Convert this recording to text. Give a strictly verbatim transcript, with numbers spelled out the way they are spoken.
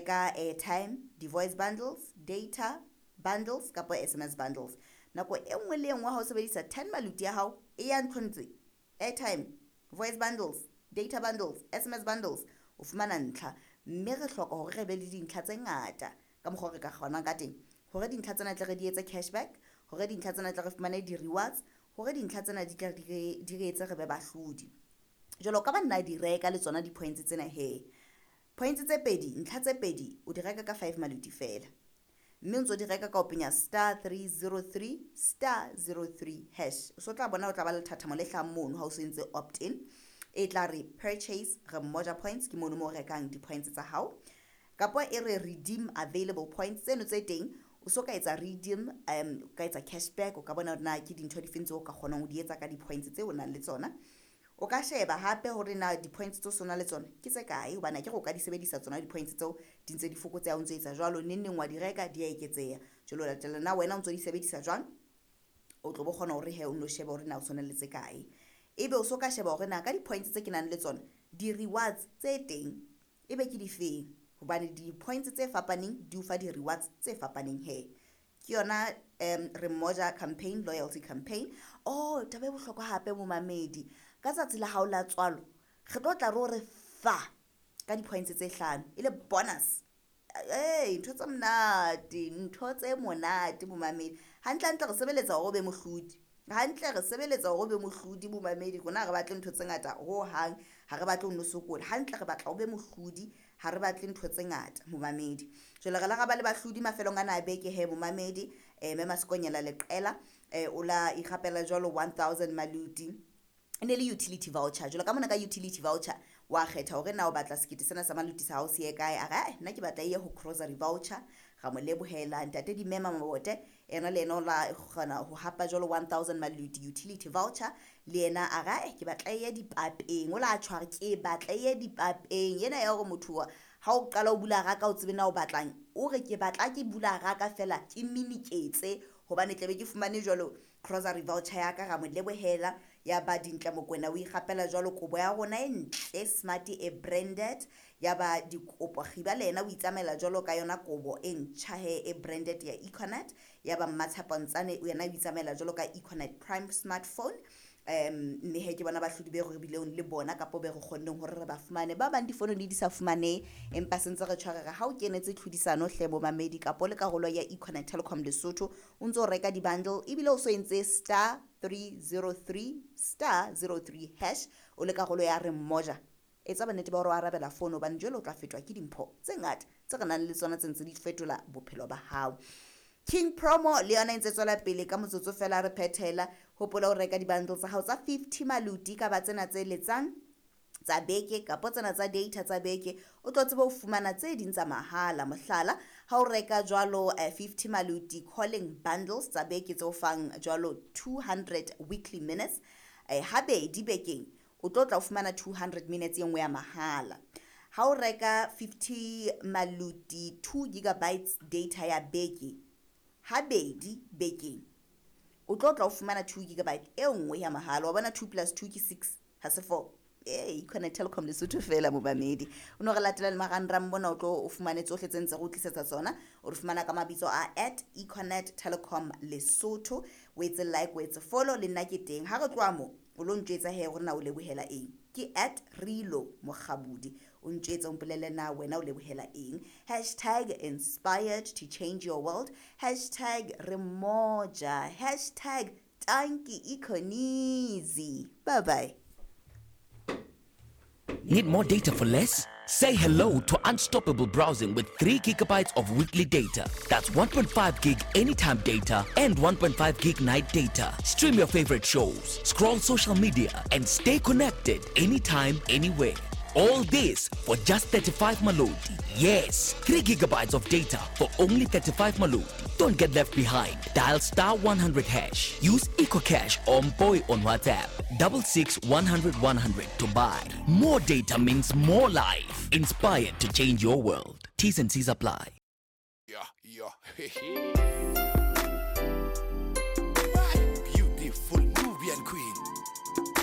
reka airtime, di-voice bundles, data bundles kapa S M S bundles. Nako e nngwe le e nngwe ha o sebedisa ten maluti ya hao e ya nthong tse airtime, voice bundles, data bundles, S M S bundles, o fumana ntlha. Mme re hloka hore re be le dintlha tse ngata ka mokgwa o re ka kgonang ka teng, hore dintlha tsena tle re di etse cashback, hore dintlha tsena tle re fumane di-rewards, hore dintlha tsena di tla di re etse re be bahlodi. Jwale o ka ba nna di reka le tsona di-points tsena he. Points tse pedi, ntlha tse pedi, o di reka ka five maluti fela, mme o ntso di reka ka o penya star three zero three star zero three hash. O so tla bona o tla ba le thathamo le hlahang mono ha o so entse opt in, e tla re "Purchase Re Mmoja points". Ke mono mo o rekang di-points tsa hao, kapa e re "Redeem available points". Tseno tse teng o so ka etsa redeem, um o ka etsa cashback. O ka bona hore na ke dintho di feng tseo o ka kgonang ho di etsa ka di-points tseo o nang le tsona. O ka sheba hape hore na di-points tseo so na le tsona ke tse kae, hobane akere o ka di sebedisa tsona di-points tseo, di ntse di fokotseha. O ntso etsa jwalo, neng neng wa di reka, di a eketseha. Jwale o latela na wena o ntso di sebedisa jwang, o tlo bo kgona hore he o nno shebe hore na o tshwana le tse kae. Ebe o so ka sheba hore na ka di-points tse ke nang le tsona, di-rewards tse teng ebe ke difeng, hobane di-points tse fapaneng di o fa di-rewards tse fapaneng. He, ke yona um Re Mmoja campaign, loyalty campaign. Oh, taba e bohlokwa hape, momamedi, ka tsatsi la hao la tswalo re tlo tla re o re fa ka di-points tse hlano e le bonus. Ee, ntho tse monate, ntho tse monate, momamedi. Hantle hantle re sebeletsa hore o be mohlodi. Hantle re sebeletsa hore o be mohlodi, momamedi. Rona ha re batle ntho tse ngata ho hang, ha re batle ho no sokola. Hantle re batla o be mohlodi, ha re batle ntho tse ngata, momamedi. Jwale re la ra ba le bahlodi mafelong ana a beke he, momamedi. um mme Masekonyela Leqela um o la ikgapela jwalo one thousand maluti, e ne le utility voucher. Jwalo ka mona ka utility voucher wa kgetha hore na o batla sekete sena sa maluti sa hao se ye kae. A re, "Ai, nna ke batla e ye ho grocery voucher." Ra mo lebohela. Ntate Dimema Mabote ena le yena o la kgona ho hapa jwalo one thousand maluti utility voucher. Le yena a re, "Ai, ke batla e ye dipapeng." O la tjho, a re, "Ke batla e ye dipapeng." Ena ya hore motho ha o qala o bula raka o tsebe na o batlang, o re, "Ke batla ke bula raka fela ke miniketse, hobane tlabe ke fumane jwalo grocery voucher ya ka." Ra mo lebohela. Ya ba Dintle Mokwena o ikgapela jwalo kobo ya rona e ntle, smart, e branded. Ya ba Dikopo Kgiba le yena o itsamaela jwalo ka yona kobo e ntjha he, e branded ya Econet. Ya ba Mmatshepo Ntsane yena o itsamaela jwalo ka Econet Prime smartphone. um mme he, ke bona bahlodi be re bileng le bona, kapo be re kgonneng hore re ba fumane. Ba bang difono di di sa fumanehe, empa sentse re tshwarega. Ha o kenetse tlhodisano hle, bomamedi, kapo le karolo ya Econet Telecom Lesotho, o ntso reka di-bundle ebile o so entse star three zero three star zero three hash, o le karolo ya Re Mmoja, etsa bonnete ba hore o arabela fono, hobane jwale o tla fetwa ke dimpho tse ngata tse re nang le tsona, tse ntse di fetola bophelo ba hao. King Promo le yona e ntse tswela pele. Ka motsotso fela re phethela, hopola ho reka di-bundle tsa hao tsa fifty maluti, ka ba tsena tse letsang tsa beke kapo tsena tsa data tsa beke, o tlo tsebe ho fumana tse ding tsa mahala. Mohlala, ha o reka jwalo fifty maluti calling bundles tsa beke tse o fang jwalo two hundred weekly minutes, eh, habedi bekeng o tlo tla o fumana two hundred minutes e nngwe ya mahala. Ha o reka fifty maluti two gigabytes data ya beke, habedi bekeng o tlo tla o fumana two gigabyte e nngwe ya mahala. Wa bona, two plus two ke six, ha se four. Ee, Econet Telecom Lesotho fela, momamedi. O no re latela le marangrang mona, o tlo o fumane tsohle tse ntse re o tlisetsa tsona. O re fumana ka mabitso a at Econet Telecom Lesotho. O etse like, o etse follow, le nna ke teng. Ha re tloha mo, o lo ntjwetsa he hore na o lebohela eng. Ke at Rilo Mokgabudi. O ntjwetse, o mpolelle na wena o lebohela eng. Hashtag inspired to change your world, hashtag Re Mmoja, hashtag tanki Econizi. Bye bye. Need more data for less? Say hello to unstoppable browsing with three gigabytes of weekly data. That's one point five gig anytime data and one point five gig night data. Stream your favorite shows, scroll social media, and stay connected anytime, anywhere. All this for just thirty-five Maloti. Yes, three gigabytes of data for only thirty-five Maloti. Don't get left behind. Dial star one hundred hash. Use EcoCash or Mpoy on WhatsApp. Double six one hundred one hundred to buy. More data means more life. Inspired to change your world. T's and C's apply. Yeah, yeah.